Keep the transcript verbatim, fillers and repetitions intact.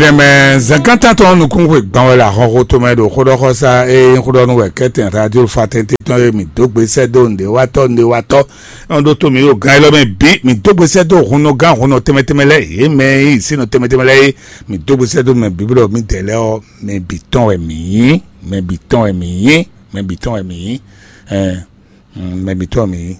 Ɖɛmɛ zɛnkántán tɔn nukúnxwe gbɔn wɛ le ahɔnxo tomɛ ɖo xóɖɔxɔsá e nyí xóɖɔnú wɛ kɛ́tɛn radio fatɛnte tɔn e mǐ dó gbe sɛ́ dó nǔɖéwatɔ́ nǔɖéwatɔ́. Nɔ ɖó tó mǐ ɖo gán élɔ́ mɛ bǐ, mǐ dó gbe sɛ́ dó hunnɔgán hunnɔ tɛnmɛ tɛnmɛ lɛ́ɛ, yě mɛ e yí sínɔ tɛnmɛ tɛnmɛ lɛ́ɛ é, mǐ dó gbe sɛ́ dó mɛ bǐ bɔ mǐdɛɛ lɛ́ɛ ɔ́, mɛ bǐ tɔn wɛ mǐ nyí, mɛ bǐ tɔn wɛ mǐ nyí, mɛ bǐ tɔn wɛ mǐ nyí, ɛn, mɛ bǐ tɔn wɛ mǐ nyí.